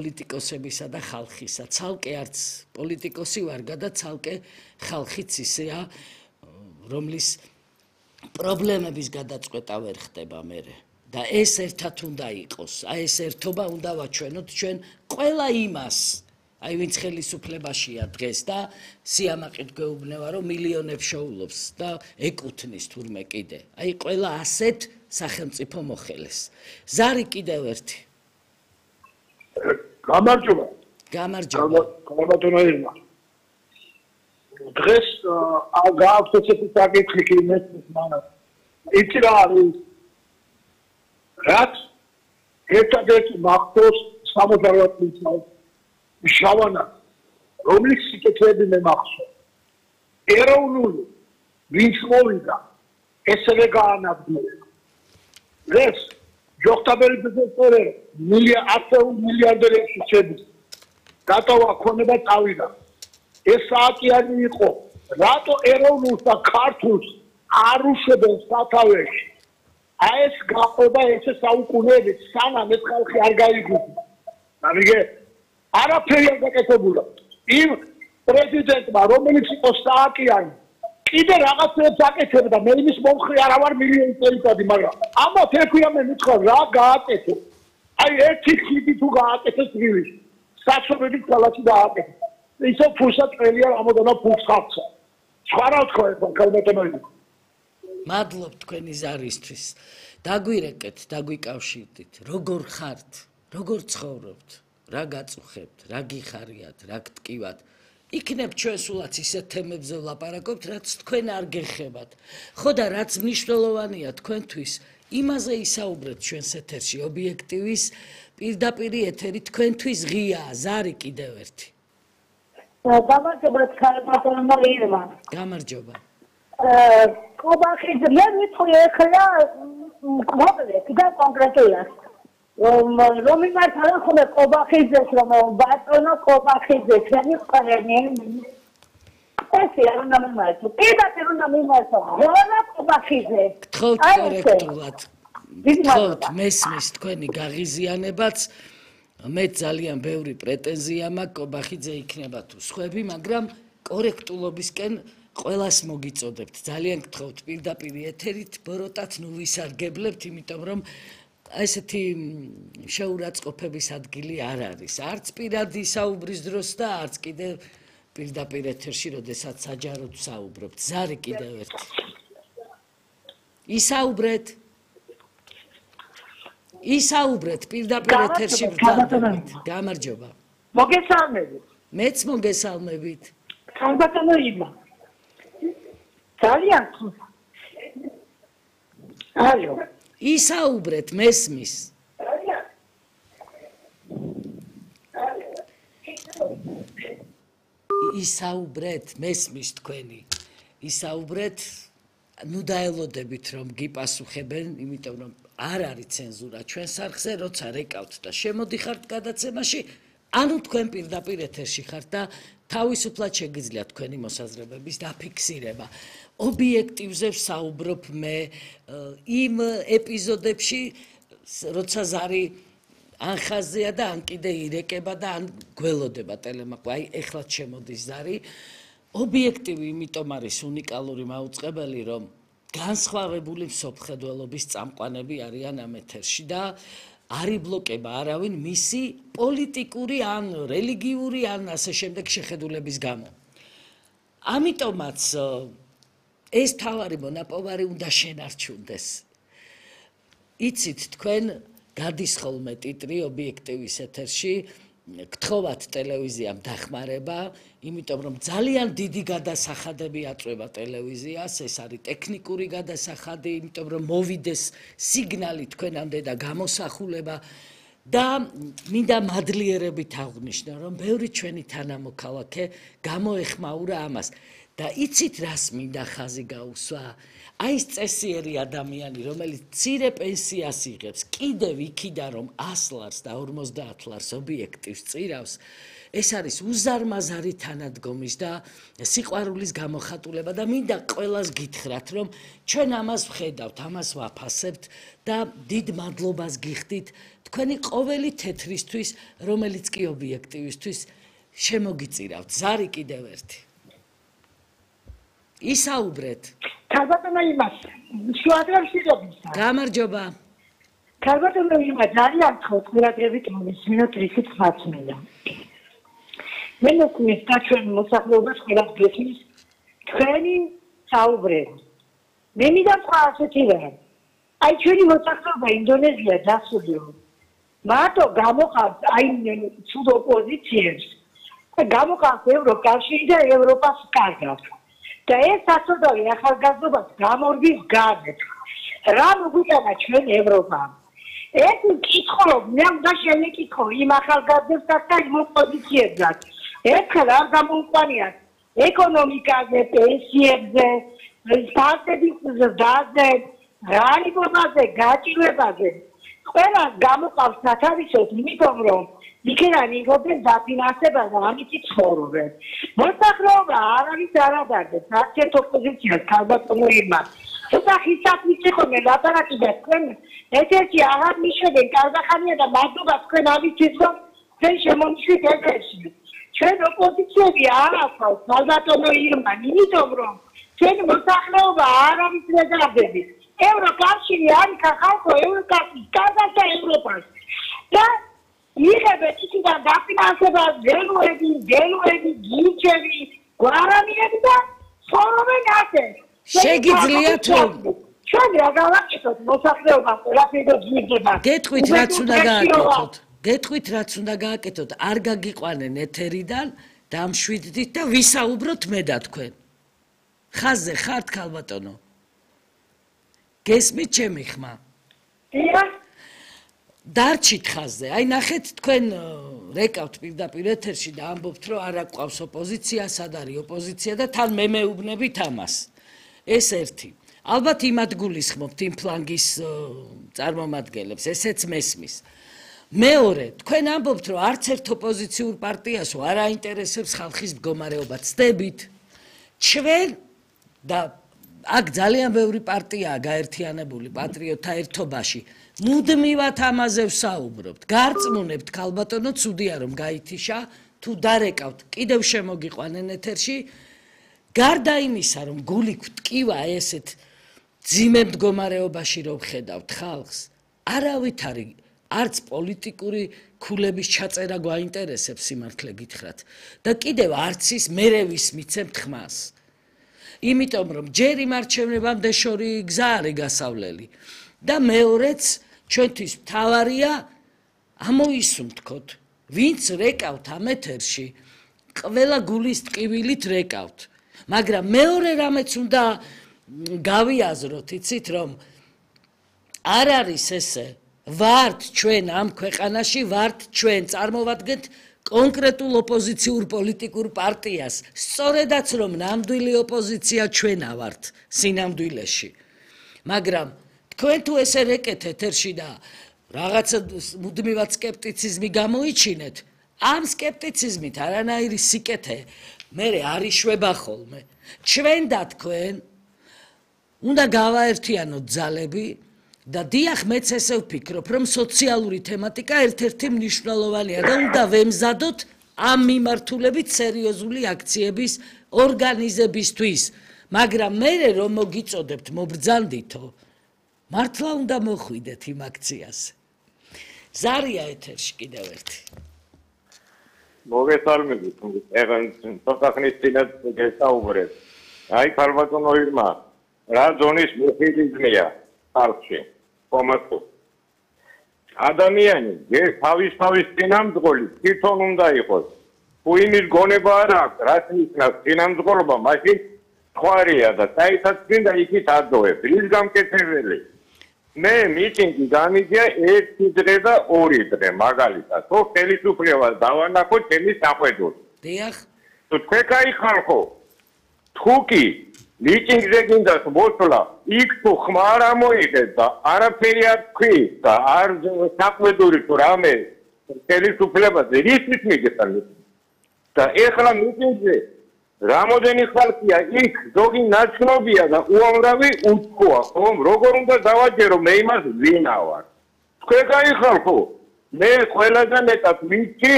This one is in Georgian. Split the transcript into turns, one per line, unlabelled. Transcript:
პოლიტიკოსებისა და ხალხისა. ცალკე არც პოლიტიკოსი ვარ და ცალკე ხალხიც ისეა, რომლის პრობლემების გადაწყვეტა ვერ ხდება მერე. და ეს ერთად უნდა იყოს. აი ეს ერთობა უნდა ვაჩვენოთ ჩვენ ყველა იმას, აი ვინც ხელისუფლებაშია დღეს და სიამაყით გვეუბნება, რომ მილიონებს შოულობს და ეკუთვნის თურმე კიდე. აი ყველა ასეთ სახელმწიფო მოხელეს. ზარი კიდევ ერთი.
გამარჯობა.
გამარჯობა.
გამარჯობა ირმა. დღეს გააქვს ესეთი საკითხი იმის მანამ. იცი რა არის? რაც ერთადერთი მახსოვს 68 წლის შავანა, რომლის სიკეთეები მე მახსოვს. ეროვნული ვინც მოვიდა, ესევე გაანადგურა. ეს ჯოხტაბერი ბიზნესმენი მილიარდერებში შედის. დატოვა ქონება წავიდა. ეს საათიანი იყო, რატო ეროვნულს და ქართულს არ უშვებენ სათავეში? აი ეს გაყვება ესე საუკუნეებით, სანამ ეს ხალხი არ გაიგუება. ამიგე არაფერი არ გაკეთებულა. იმ პრეზიდენტმა, რომელიც იყო სააკიანი, კიდე რაღაცებს აკეთებდა, მე იმის მომხრე არა ვარ მილიონი წელიწადი, მაგრამ ამათ ექვია მე მითხრა რა გააკეთე. აი ერთი ხიდი თუ გააკეთეს თბილისში, საცობებით ქალაქი დააკეთეს. ისო ფულსა წელია რამოდენა ფულს ხავსა. სხვა რა თქვა ეს კალბატონოიდი.
მადლობ თქვენი ზარისთვის. დაგვირეკეთ, დაგვიკავშირდით. როგორ ხართ? როგორ ცხოვრობთ? რა გაწუხებთ? რა გიხარიათ? რა გტკივათ? იქნებ ჩვენ სულაც ისეთ თემებზე ვლაპარაკობთ, რაც თქვენ არ გეხებათ. ხო და რაც მნიშვნელოვანია თქვენთვის, იმაზე ისაუბრეთ ჩვენს ეთერში ობიექტივის პირდაპირი ეთერი თქვენთვის ღიაა. ზარი კიდევ ერთი.
გამარჯობა ქალბატონო ირმა.
გამარჯობა.
კობახი მე მithוי ახლა მოკლედ და კონკრეტულად რომ იმართა ხოლმე კობახიძეს რომ ბატონო კობახიძე ჩვენი ყველანი ესე არ უნდა მიმართო პირდაპირ უნდა მიმართო რა კობახიძე
გთხოვთ კორექტულად გთხოვთ მესმის თქვენი გაღიზიანებაც მე ძალიან ბევრი პრეტენზია მაქვს კობახიძე იქნება თუ სხვები მაგრამ კორექტულობისკენ ყველას მოგიწოდებთ ძალიან გთხოვთ პირდაპირ ეთერით ბოროტად ნუ ვისარგებლებთ იმიტომ რომ ესეთი შეურაცხყოფების ადგილი არ არის არც პირადი საუბრის დროს და არც კიდე პირდაპირ ეთერში როდესაც საჯაროდ საუბრობთ ზარი კიდევ ერთი ისაუბრეთ პირდაპირ ეთერში ბრთანებით გამარჯობა
მოგესალმებით
მეც მოგესალმებით
ქალბატონო ირმა ძალიან ალო
ისაუბრეთ მესმის ისაუბრეთ მესმის თქვენი ისაუბრეთ ნუ დაელოდებით რომ გიპასუხებენ იმიტომ რომ არ არის ცენზურა ჩვენ სახზე როცა რეკავთ და შემოდიხართ გადაცემაში ანუ თქვენ პირდაპირ ეთერში ხართ და თავისუფლად შეგიძლიათ თქვენი მოსაზრებების დაფიქსირება ობიექტივზე ვსაუბრობ მე იმ ეპიზოდებში როცა ზარი ან ხაზია და ან კიდე ირეკება და ან გველოდება ტელემაყვა აი ეხლა შემოდის ზარი ობიექტივი იმიტომ არის უნიკალური მაუწყებელი რომ განსხვავებული მსოფლმხედველობის წამყვანები არიან ამ ეთერში და არ იბლოკება არავინ მისი პოლიტიკური ან რელიგიური ან ასე შემდეგ შეხედულების გამო. ამიტომაც ეს თავარი მონაპოვარი უნდა შენარჩუნდეს. იცით თქვენ გადის ხოლმე ტიტრი ობიექტივის ეთერში გთხოვათ ტელევიზიამ დახმარება, იმიტომ რომ ძალიან დიდი გადასახადები აწვევა ტელევიზიას, ეს არის ტექნიკური გადასახადი, იმიტომ რომ მოვიდეს სიგნალი თქვენამდე და გამოსახულება და მინდა მადლიერებით აღვნიშნო, რომ ბევრი ჩვენი თანამოქალაქე გამოეხმაურა ამას. და იცით რას მინდა ხაზი გაუსვა? აი ეს წესიერი ადამიანი, რომელიც მცირე პენსიას იღებს, კიდევ იქიდან რომ 100 ლარს და 50 ლარს ობიექტივს წირავს, ეს არის უზარმაზარი თანადგომის და სიყვარულის გამოხატულება და მინდა ყველას გითხრათ, რომ ჩვენ ამას ვხედავთ, ამას ვაფასებთ და დიდ მადლობას გიხდით თქვენი ყოველი თეთრისთვის, რომელიც კი ობიექტივისთვის შემოგიწირავთ. ზარი კიდევ ერთი. ისაუბრეთ.
ქალბატონო იმას, შუადღემშიგებისა.
გამარჯობა.
ქალბატონო იმას, ძალიან ხოთ ყურადღებით მოვისმინოთ რითიც მაცმელა. მე მოკნის და ჩვენ მოსახლეობას ყველას გესმის თქვენი საუბრები. მე მინდა თქვა ასეთი რამ. აი ჩვენი მოსახლეობა ინდონეზია დასრულდა. მარტო გამოყავთ აი ცუდ ოპოზიციებს და გამოყავთ ევროკავშირი და ევროპას კარგავთ. და ეს საწოდავი ახალგაზრდობას გამორგის გარეთ. რა მოგვიტანა ჩვენ ევროპამ? ეს მკითხულობ, მე უნდა შემეკითხო იმ ახალგაზრდებსაც და იმ ოპოზიციებსაც. ერთხელ არ გამოუყვანიათ ეკონომიკაზე, პენსიებზე, სტარტების ზრდაზე, ღარიბობაზე, გაჭირვებაზე. ყველას გამოყავს სათავისოდ, იმიტომ რომ იქიდან იღებენ დაფინანსებას და ამით ცხოვრობენ. მოსახლეობა არავის არ ადარდებს, არც ერთ ოპოზიციას ქალბატონო ირმა. ცოტა ხისად მიწიხონე ლაპარაკი და თქვენ ერთ-ერთი აღარ მიშვებენ კარგახანია და მადლობა თქვენ ამისთვის რომ თქვენ შემომიშვით ეთერში. ჩვენ ოპოზიციები არ ახავს ქალბატონო ირმა, იმიტომ რომ ჩვენი მოსახლეობა არავის არ ადარდებს. ევროკავშირი არის ხალხო ევროკავშირი, კაზაკთა ევროპას. და იღებენ იქიდან დაფინანსებას, გელუები, გიჩები, გვარამიები და ცხოვრობენ ასე.
შეგიძლიათ რომ
ჩვენ რა გავაკეთოთ მოსახლეობა ყველაფერი გიგება.
გეტყვით რაც უნდა გააკეთოთ. გეტყვით რაც უნდა გააკეთოთ. არ გაგიყვანენ ეთერიდან, დამშვიდდით და ვისაუბროთ მე და თქვენ. ხაზზე ხართ ქალბატონო? გესმით ჩემი ხმა?
დიახ.
დარჩით ხაზზე. აი ნახეთ თქვენ რეკავთ პირდაპირ ეთერში და ამბობთ რომ არ აყვავს ოპოზიცია, სად არის ოპოზიცია და თან მე მეუბნებით ამას. ეს ერთი. ალბათ იმათ გულისხმობთ იმ ფლანგის წარმომადგენლებს, ესეც მესმის. მეორე, თქვენ ამბობთ რომ არც ერთ ოპოზიციურ პარტიას არ აინტერესებს ხალხის მდგომარეობა. ცდებით. ჩვენ და აქ ძალიან ბევრი პარტიაა გაერთიანებული პატრიოტთა ერთობაში. მუდმივად ამაზე ვსაუბრობთ. გარწმუნებთ ქალბატონო, ცუდია რომ გაითიშა, თუ დარეკავთ, კიდევ შემოგიყვანენ ეთერში. გარდა იმისა, რომ გული გვტკივა ესეთ ძიმე მდგომარეობაში რომ ხედავთ ხალხს, არავით არის არც პოლიტიკური ქულების ჩაწერა გვაინტერესებს სიმართლე გითხრათ და კიდევ არც ის მერე ვის მიცემთ ხმას. იმიტომ რომ ჯერ იმ არჩევნებამდე შორი გზა არის გასავლელი და მეორეც ჩვენთვის მთავარია ამოისუნთქოთ ვინც რეკავთ ამ ეთერში ყველა გულის ტკივილით რეკავთ მაგრამ მეორე რამეც უნდა გავიაზროთ იცით რომ არ არის ესე ვართ ჩვენ ამ ქვეყანაში ვართ ჩვენ წარმოვადგენთ კონკრეტულ ოპოზიციურ პოლიტიკურ პარტიას სწორედაც რომ ნამდვილი ოპოზიცია ჩვენა ვართ სინამდვილეში მაგრამ თქვენ თუ ესე რეკეთ ეთერში და რაღაცა მუდმივად სკეპტიციზმი გამოიჩინეთ ამ სკეპტიციზმით არანაირი სიკეთე მე არ იშვება ხოლმე ჩვენ და თქვენ უნდა გავაერთიანოთ ძალები და დიახ მეც ესე ვფიქრობ რომ სოციალური თემატიკა ერთ-ერთი მნიშვნელოვანია და უნდა ვემზადოთ ამ მიმართულებით სერიოზული აქციების ორგანიზებისთვის მაგრამ მე რომ მოგიწოდებთ მობრძანდითო მართლა უნდა მოხვიდეთ იმ აქციაზე ზარია ეთერში კიდევ ერთი
მოგესალმებით ეხლა ცოტა ხნის წინათ გესაუბრეთ აი ქალბატონო ირმა რა ზონის მუხილიზმია ხალხში კომატო ადამიანი თავის წინამძღოლი თვითონ უნდა იყოს თუ იმის გონება არ აქვს რაც ნიშნავს წინამძღოლობა მაშინ ხوارია და საერთოდ წინდა იქით ადოებს რის გამკეთებელი მე მიტინგი გამიგია 1 დღე და 2 დღე მაგალითად ხო ხელისუფლებას დავანახო ჩემი საყვედურს
დიახ
თუ თქვენ кай ხალხო თუ კი მიტინგზე გინდათ მოსვლა, იქ თუ ხმა არ ამოიღეთ და არაფერი არ თქვი და არ საყვედური თუ რამე ხელისუფლებაზე რისთვის მიგეწარ და ეხლა მიტინგზე რამოდენი ხალხია იქ ზოგი ნაცნობია და უამრავი უთქოა ხომ როგორ უნდა დავაჯერო მე იმას ვინა ვარ თქვენ გაიხალხო მე ყველაზე მეტად ვიცი